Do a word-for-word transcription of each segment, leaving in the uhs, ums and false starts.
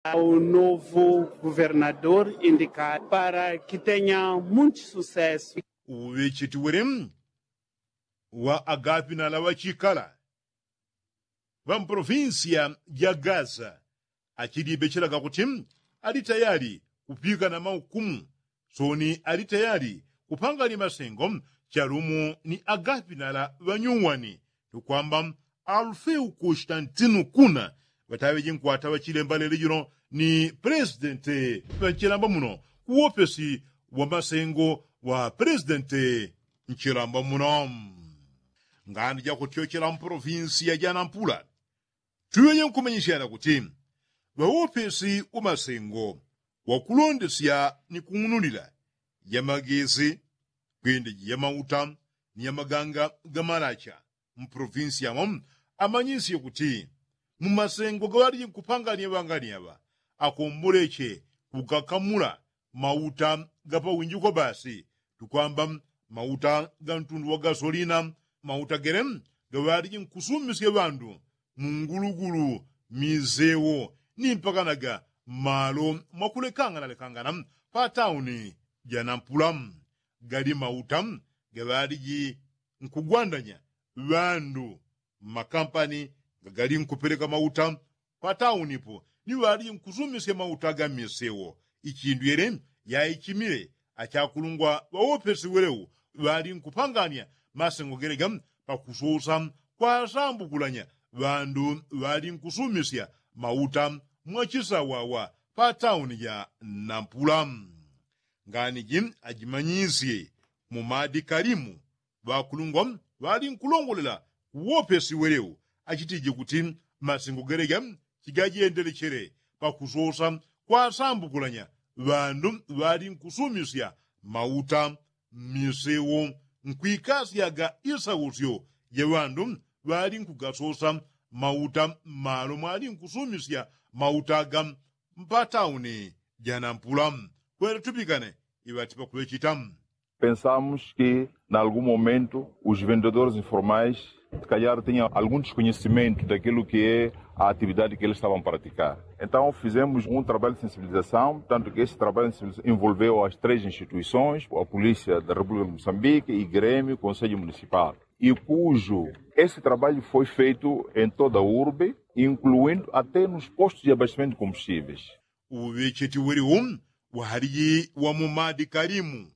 Ao novo governador indikado para kitenya munti susesu. Uŵecheti wele wa agapinala ŵachikala ŵa mpolofinsiya ja gaza achilibechelaga kuti ali tayali kupikana maukumu soni ali tayali kupangani masengo chalumo ni agapinala ŵanyuwani tukwamba alufeu kustantinu kuna ŵataŵeji nkwata ŵachilemba lele jino ni pelesidenti ŵanchilamba muno kuwopesi wa masengo wa pelesidenti nchilamba muno. Ngani jakutyochela mpolofinsiya janampula tuŵeje nkumanyisyana kuti ŵawopesi wa masengo wakulondesya ni kung'unulila ya magesi kwende ji ya mauta ni ya maganga ga malacha mpolofinsiya mo amanyisye kuti mu masengo gaŵaliji nkupangania ŵangania ŵa akomboleche kugakamula mauta ga pawinjiko basi tukwamba mauta ga ntundu wa gasolina mauta gele gaŵaliji nkusumisya ŵandu mu ngulugulu misewo ni mpakanaga mmalo mwakulekangana lekangana pa tauni ja nampula gali mauta gaŵaliji nkugwandanya ŵandu mmakampani gagali nkupeleka mauta pataunipo ni ŵali nkusumisya mauta ga misewo ichindu yele yaichimile achakulungwa ŵawopesi welewo ŵali nkupangania masengo geleja pakusosa kwasambukulanya ŵandu ŵali nkusumisya mauta mwachisawawa patauni ja nampula. Ngani ji ajimanyisye mu madikalimu ŵakulungwa ŵali nkulongolela kuwopesi welewo achitije kuti masengo geleja chigajendelechele pakusosa kwasambukulanya ŵandu ŵali nkusumisya mauta mmisewo nkwikasyaga isausyo ja ŵandu ŵali nkugasosa mauta mmalo mwali nkusumisya mauta aga mpatauni ja nampula kwele tupikane iŵati pakuŵechita. Pensamos que na algum momento os vendedores informais se calhar tinham algum desconhecimento daquilo que é a atividade que eles estavam a praticar. Então fizemos um trabalho de sensibilização, tanto que esse trabalho de sensibilização envolveu as três instituições, a polícia da República de Moçambique, igrêmio, conselho municipal, e cujo esse trabalho foi feito em toda a urbe, incluindo até nos postos de abastecimento de combustíveis. Uŵecheti welewo ŵaliji wa mu madikalimu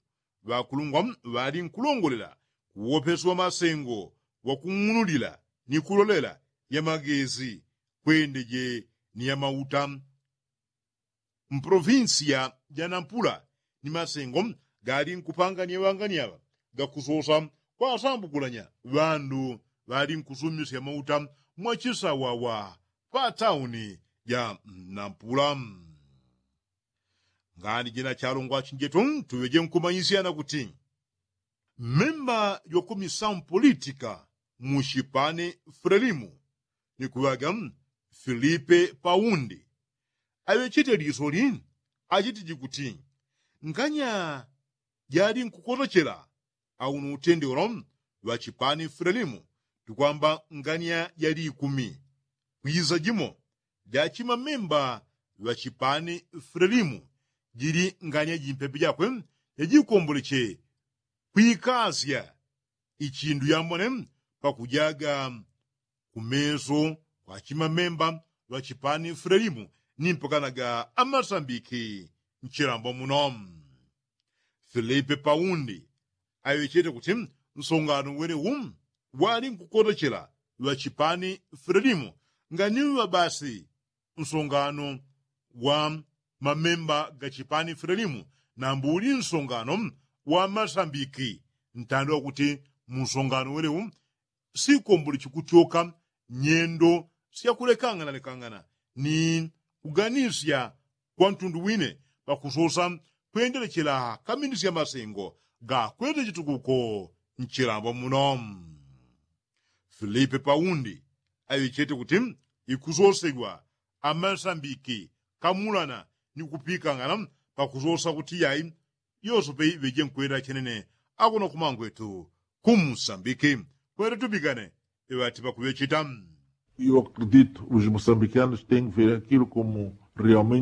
ŵakulungwa ŵali nkulongolela kuwopesi wa masengo wakung'unulila ni kulolela ya magesi kwendeje ni ya mauta mpolofinsiya ja nampula ni masengo gali nkupangania ŵangania ŵa gakusosa kwasambukulanya ŵandu ŵali nkusumisya mauta mwachisawawa patauni ja nampula. Ngani jina chalongwa chinjetu tuŵeje nkumanyisyana kuti mmemba jwakumisamu politika mu chipani frelimu ni kuŵaga filipe paundi aŵechete lisoli achitiji kuti nganya jali nkukotochela auno utende ulo ŵachipani frelimu tukwamba nganya jali ikumi kwiza jimo jachimamemba ŵachipani frelimu jili nganya jimpepe jakwe jajikomboleche kwikasya ichindu yambone pakujaga kumeso kwa chimamemba ŵa chipani frelimu ni mpakanaga amasambiki nchilambo muno. Filipe paundi aŵechete kuti nsongano welewu wali nkukotochela ŵa chipani frelimu nganiŵa basi nsongano wa mamemba ga chipani frelimu nambu uli nsongano wa masambiki ntando wakuti mu nsongano welewu sikombole chikutyoka nyendo syakulekangana lekangana ni kuganisya kwa ntundu wine pakusosa kwendelechela kamindisya masengo gakwete chitukuko nchilambo muno. Filipe paundi aŵechete kuti ikusosegwa amasambiki kamulana ni kupikangana pakusosa kuti yai yosope iŵeje nkwenda chenene akuno kumangwetu kumusambiki kwete tupikane iŵati pakuŵecheta. Eu acredito os moçambicanos têm que ver aquilo como realmente